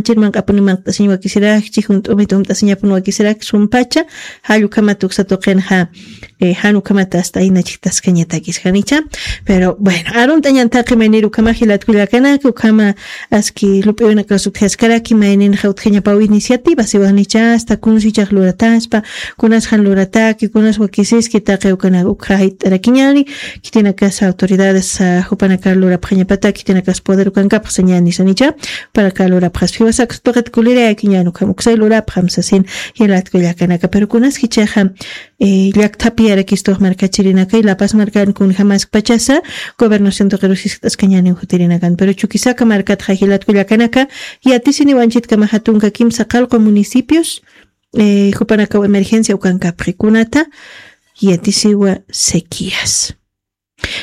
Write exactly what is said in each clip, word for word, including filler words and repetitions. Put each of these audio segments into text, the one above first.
chirmanq'apuni manqt'asiñ wakisirakchi, junt'umit umt'asiñapun wakisirak sumpacha, jall ukhamat uksa tuqinxa, eh, jan ukhamat hasta ayna chiktaskañatakis janicha. Pero bueno, arunt'añan taqi maynir ukhama jilat kullakanaka, ukhama aski lup'iwinakas utjaskaraki mayninxa utjañapaw iniciativa siwanicha, hasta kunsichax lurataspa, kunas jan lurataki, kunas wakisiski taqi ukana ukha jayt'arakiñani, khitinakas autoridades, ah, jupanakar lurapxañapata, khitinakas poder ukankapxsañani sanicha, para ka lurapxaspi jiwasaka tuqit kulirayakiñan ukham uksay lurapxam sasin jilat kullakanaka. Pero kunas jichaxa, eh, llakthapi yarakistux markachirinakay, La Paz markan kunjamaskpachasa, gobernación tuqirus jiskt'askañaniw jutirinakan. Pero Chuquisaca markatxa jilat kullakanaka, yatisiniw anchitkama jatunka kimsa qallqu municipios, eh, jupanakaw emergencia ukankapxi. Kunata, yatisiwa sequías.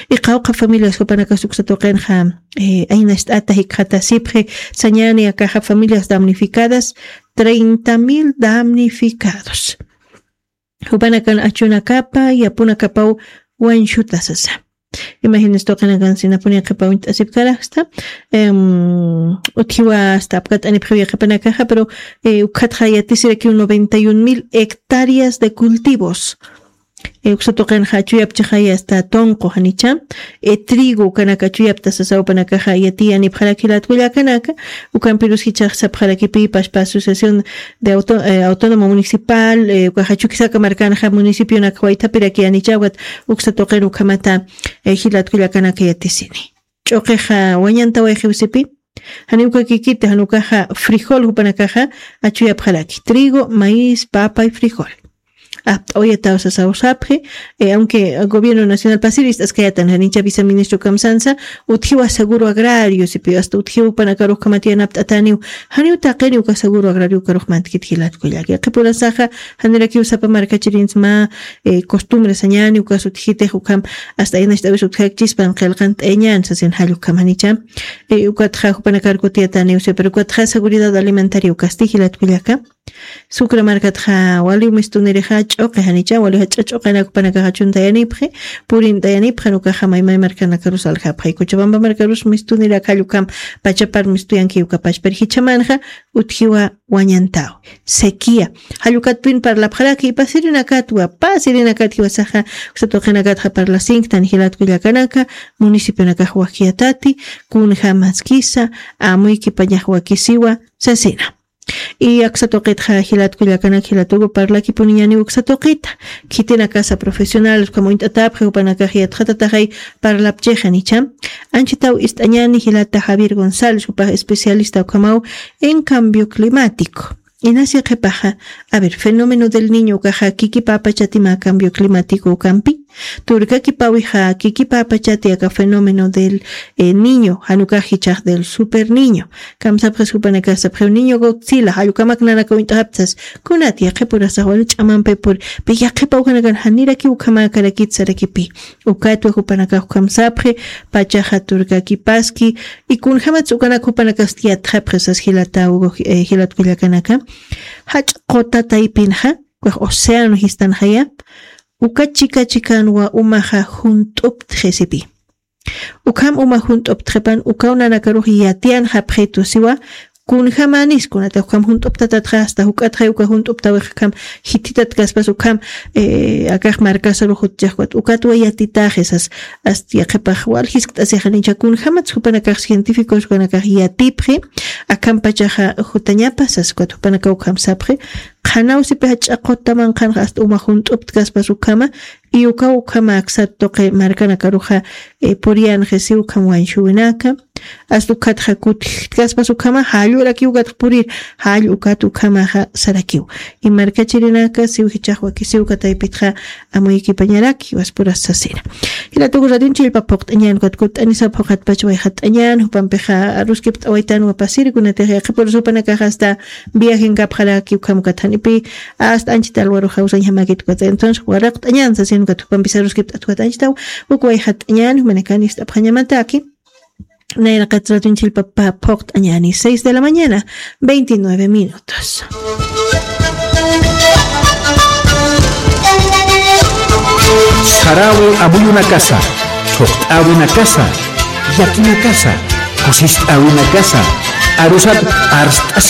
Y qawqha familias jupanakas uksa tuqinxa, eh, aynacht'ata jikxatasipxi, sañani akaxa familias damnificadas, treinta mil damnificados. Jupanakan achunakapa, yapunakapaw wañshuta sasa. Imagines tuqinakan sinapuni qhipa uñt'asipkaraksta, em, utjiwa hasta apkat'anipxiw yaqhipanakaxa, pero, eh, ukhatxa yatisirakiw noventa y un mil hectáreas de cultivos. Eh, uksa tuqinxa achuyapchixaya hasta tunqu janicha, eh, trigo ukanaka achuyapta sasa jupanakaxa yatiyanipxarak jilat kullakanaka, ukampirus jichhax sapxarakipi pashpa asociación de auto-, eh, autónoma municipal, eh, ukaxa Chuquisaca markanxa municipionaka waythapiraki janicha, ukat uksa tuqin ukhamata, eh, jilat kullakanaka yatisini. Ch'uqixa wañantawayxiw sipi, janiw ukakikiti, jan ukaxa frijol jupanakaxa achuyapxaraki, trigo, maíz, papa y frijol. Apt'awayataw sasaw sapxi, eh, aunque gobierno nacional pasir ist'askayatan, janicha viceministro kamsansa, utjiwa seguro agrario sipi, hasta utjiwa jupanakarux ukhamat yanapt'ataniw, janiw taqini uka seguro agrario ukarux mantkit jilat kullaka. Qhipurasaxa, janirakiw sapa markachirinsa mä, eh, costumbre sañani, ukas utjitix ukham, hasta aynacht'awis utjakchispan qillqant'ayañan sasin jall ukham janicha. Eh, ukatxa jupanakar kutiyataniw si, pero ukatxa seguridad alimentaria ukasti jilat kullaka. Sucre markatxa waliw mistunirixa ch'uqi janicha, waliw jach'a ch'uqinak jupanakaxa achuntayanipxi, purint'ayanipxi, jan ukaxa maymay markanakarus aljapxi. Cochabamba markarus mistunirak jall ukham pachapar mistuyanki ukapach, pero jichhamanxa utjiwa wañantaw. Sequía. Jall ukatpin parlapxaraki, pasirinakatwa, pasirinakatwa saxa, uksa tuqinakatxa parlasinktan jilat kullakanaka, municipionakax wakiyatati, kunjamaskisa, amuykipañax wakisiwa, sasina. Y aksa tuqitxa jilat kullakanak, jilat Hugo, parlakipuniñaniw uksa tuqita. Khitinakasa profesional, ukham uñt'atapxi, jupanakax yatxatataxay parlapchixa janicha. Anchitaw ist'añani jilata Javier González, jupax especialista ukhamaw en cambio climático. Inasi qhipaxa, a ver, fenómeno del Niño ukaxa kikipäpachati mä cambio climático ukampi. Turkakipawixa kikipäpachati aka fenómeno del, eh, Niño, jan ukax jichhax del Super Niño. Kamsapxis jupanakax sapxiw Niño Godzilla, jall ukhamak nanaka uñt'xapxi sas, kunat yaqhipurasax wali ch'amampi puri, pero yaqhipa ukanakan janirakiw ukhamäkarakit sarakipi. Ukatwa jupanakax ukham sapxi, pachaxa turkakipaski, y kunjamatsa ukanak jupanakax yatxapxi sas jilata Hugo, eh, jilat kullakanaka. Jach'a quta taypinxa, ukax océano jistanxaya, uka chika chikanwa umaxa junt'uptxi sipi. Ukham uma junt'uptxipan, ukaw nanakarux yatiyanxapxitu siwa, kunjamänis, kunata ukham junt'uptatatxa, hasta juk'atxay uka junt'uptawix ukham jithitat kaspas ukham, eh, akax markasarux jutchax ukat, ukatwa yatitaxi sas, hasta yaqhipax wal jiskt'asixanicha, kunjamatsa jupanakax científicos ukanakax yatipxi, akham pachaxa jutañapa sas, ukat jupanakax ukham sapxi, qhanaw sipi jach'a quta manqhanxa hasta uma junt'upt kaspas ukhama, y ukaw ukhama aksa tuqi markanakaruxa, eh, puriyanxi siw ukham wañshuwinaka, hasta ukatxa kutjkaspas ukhama, jall urakiw ukatxa purir, jall ukat ukhamaxa sarakiw. Y markachirinaka siw jichhax wakisiw uka taypitxa amuykipañaraki, jiwaspuras sasina. Jilata Hugo, radionin chillpa phuqt'añan, ukat kutt'anisa phuqatpach wayxat'añan, jupampixa aruskipt'awaytanwa pasiri, kunatix yaqhipurus jupanakax hasta viajenkapxaraki ukham ukat janipi, hasta anchita alwaruxa usañjamäkit ukat. Entonces, waraqt'añan sasin ukat jupampis aruskipt'at ukat anchitaw, uk wayxat'añan, jumanakan ist'apxañamataki. Nayraqat radionin chillpa phuqt'añani, seis de la mañana, veintinueve minutos. Sarawi amuyunakasa, thuqt'awinakasa, yakinakasa, kusist'awinakasa, arusat arst'as